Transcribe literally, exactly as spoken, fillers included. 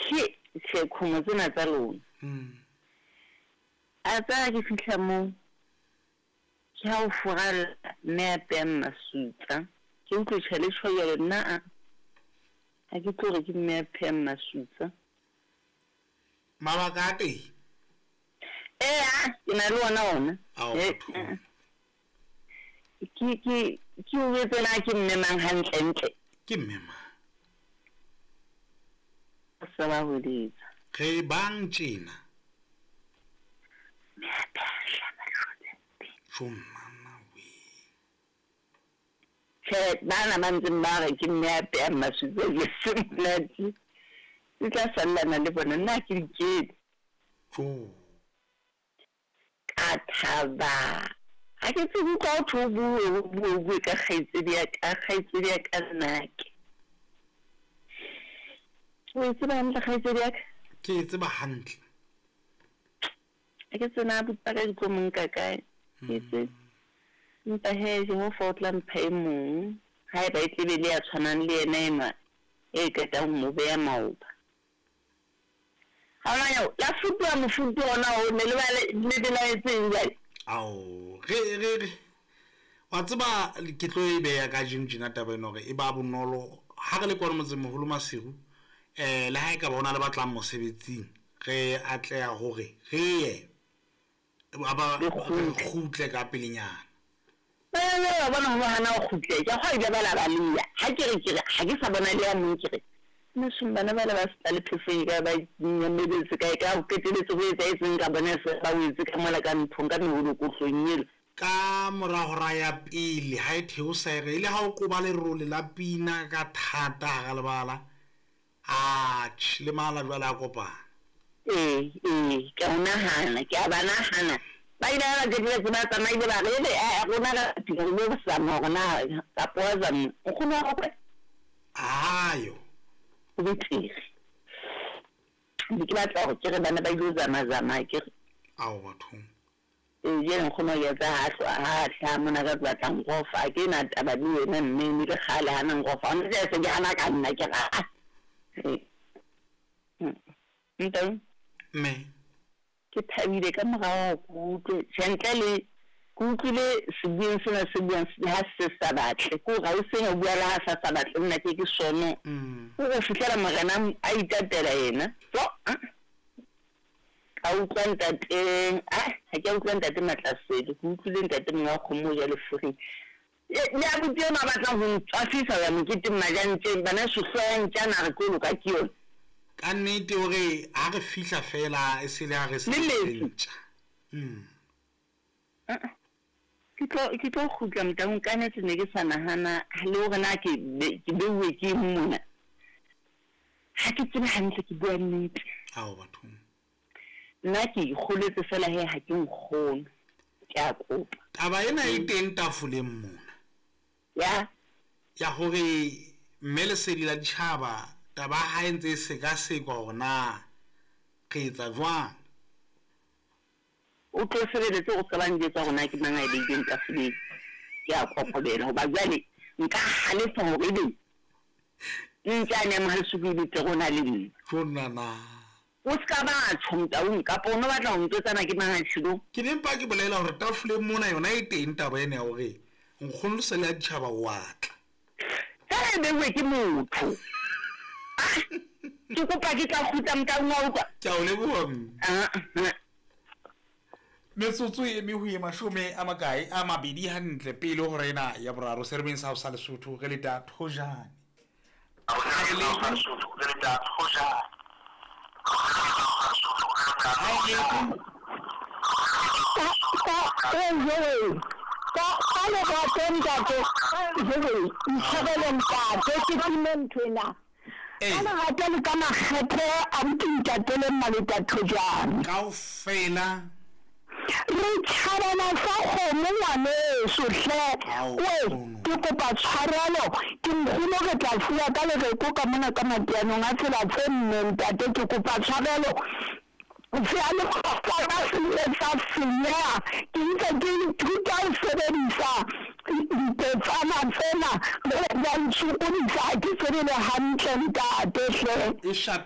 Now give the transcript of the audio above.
Ke tjhe kgomo tsena tsa lona. Mm. A tsaya ke fihla moo ke ha o furalla mme a peyang masutsa. Ke utlwe tjhe le tjho jwale nna a ha ke tlo re ke mme a phehang masutsa. Mabaka a teng? Ee, ke na le ona ona. Ao, Eh, bathong. Ke ke ke o jwetse na ke mme mang hantle ntle. Ke mme mang? Sa ba hweletsa. Re bang tjena. Mme a pheha hlama le mpe. Jo nana we. Tjhe, bana ba ntseng ba re ke mme a phehang masutsa ke se monate. Ke tla sallana le bona nna ha ke di kene. Jo. Ka thaba. Ha ke tsebe utlwa ho thwe o bue o bue o bue ka kgaitsedi ya ka kgaitsedi ya ka nnake. O e tseba hantle kgaitsedi ya ka? Ke e tseba hantle. Ha ke tsena abuti ba ka di tlo mo nka kae. Ke tsebe. Empa he Jehova o tla mpha e mong. Haeba e tlebe le ya tshwanang le yena enwa e qetang ho mo beha maoba. Ha ona nyeo, la futuha mofutu ona o ne le ba le le belaetseng jwale. Ao, re re re wa tseba ke tlo e beha kajeno tjena taba ena hore e ba bonolo ha re le kwano motsemoholo Maseru, eh le ha e ka ba hona le batlang mosebetsing, re atleha hore re ye ba ba Le re kgutle. kgutle ka pelenyana. Ba wa bona ho hana ho kgutle. Ke kgwa ile ba la ba leya. Ha ke re ke re ha ke sa bona le ya mong ke re. Mosong bana ba le ba se le phefeng ka ba nyamedetse kae ka ho qetelletse ho etsahetseng ka bona se ba wetse ka mola ka nthong ka meholokohlong ela. Ka mora hora ya pele ha e theosa e re ile ha o koba lerole la pina ka thata hara lebala. Atjhe, le mala jwale a kopana. Ee, ee, ke a o nahana, ke a ba nahana. Ba ile ba qetelletse ba tsamaile ba re ebe eh rona re fihla re lo zama hore na kapa wa zama nkgono wa hao kae? Ayo. Ho betere. Ne ke batla hore ke re bana ba ilo zama-zama ke re. Ao bathong. Ee, jwale nkgono wa ke ha hlwa ha hlaha mona ka batla nrofa ha ke na taba le yena mme ne le kgale hana nrofa. Hona jwale se ke hana ka nna ke re ah. Ee. Ntate. Mme. Ke thabile ka morao hore ke utlwe tjhe ntle le ke utlwile sebueng sena se buang ha se sa batle. Ke hore ha o sena o bua le ha sa sa batle nna ke ke sono. Mm. O go fihlela morena a itatela yena. So, ka utlwa ntate, ah, ha ke a utlwa ntate Matlasele, ke utlwile ntate monga wa kgomo o ja lefuring. Le abuti enwa a batlang ho ntswafisa ho ya moketeng majantjeng, bana sohloya ya ntjana re tlo loka ke yona. Ka nnete hore ha re fihla fela e se le ha re se Le metsi. ntja. Mm. Ah, Ke tlo ke tlo kgutla motaung ka nnete ne ke sa nahana le hore na ke be ke beuwe ke eng mona. Ha ke tsebe hantle ke bua nnete. Ao bathong. Nna ke ikgoletse fela he ha ke nkgono. Ke a kopa. Taba ena e teng tafoleng mona. Ya. Ya hore mme lesedi la ditjhaba taba ha e ntse e sekasekwa hore na re etsa jwang. O tlo sebeletse o ska ba njwetsa hore na ke mang a e beileng tafoleng. Ke a kokobela hoba jwale nka halefa hore ebe ntjane ya Mohalesuku e betere ho na le nna. Jo nana. O ska ba tjho motaung kapa o no batla ho ntjwetsa na ke mang a tjhilong. Ke ne mpa ke bolela hore tafoleng mona yona e teng taba ena ya hore nkgono lesedi la ditjhaba wa tla. Fela e beuwe ke motho. Ah, ke kopa ke tla kgutla motaung wa utlwa. Ke a o leboha mme. Ah, ah. Metsotso e eme ho ye mashome a makae a mabedi hantle pele ho hora ena ya boraro seremeng sa ho sa Lesotho re leta Thojane. Ha e leto. Ka ka lerato ntate, jwale ntshwarele ntate ke time nthwena. Ee. Ka lerato le ka makgethe a buti ntate le mmaleta Thojane. Kaofela. Re tjhabana sa kgomo ngwaneso hle. Ao, We, nkgono. ke kopa tshwarelo, ke nkgono re tla fuwa ka lereko ka mona ka mateanong a tsela tse nne ntate, ke kopa tshwarelo. Seyalemoya sa ka se ile sa senyeha, ke ntse ke ithuta ho sebedisa dipetsana tsena, jwale di a ntshokodisa, ha ke tsebe le hantle ntate hle. E shapile.